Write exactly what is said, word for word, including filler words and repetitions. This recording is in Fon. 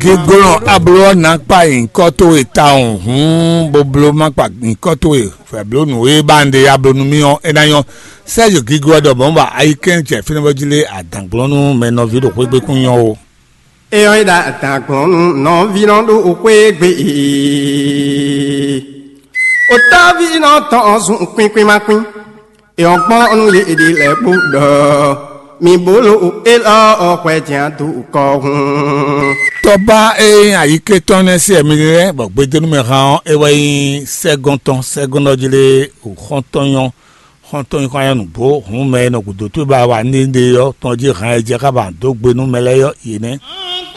Gíglɔ́n abló ɔ́ ná kpa nyǐkɔ towe tawun hǔn, bó bló má kpa nyǐkɔ towe fɛ̌blónǔ e ba un ɖe ya bló nú mì ɔ́, é ná nyɔ́. Sɛ́ yǒgígó ɔ́ ɖɔ mɔ̌ ba ayikɛ́n jɛ fínɛ́ bɔ jí lé adǎnglɔ́n nú mɛ nɔví ɖo xwé gbe kún nyɔ́ ó. É ɔ́, é ɖo adǎnglɔ́n nú nɔví nɔ ɖo xwé gbe ee. Otɔ́ví nɔ tɔn zun kwín kwín má kwín. É ɔ́ gbɔn nú yě ɖi lɛ́ɛ kpó ɖɔ mi bó lo élɔ́ ɔ́ hwɛ jɛ́n dó kɔ hun. Tɔba e nyí ayiketɔ́ nɛ́ se ɛmɛ lɛ́ɛ bɔ gbedénúmɛ hán ɔ́, é wɛ nyí sɛ́gɔ́n tɔn. Sɛ́gɔ́n ɔ́ jí lé xɔ́ntɔn nyɔ́. Xɔ́ntɔn nyɔ́ xɔ́n nyɔ́ nǔgbó hǔn mɛ e nɔ gǔdo towe ba wa ní ɖe ɔ́ tɔn jí hán e jɛ xá ba dó gbe nú mɛ lɛ́ɛ ɔ́, yě nɛ́.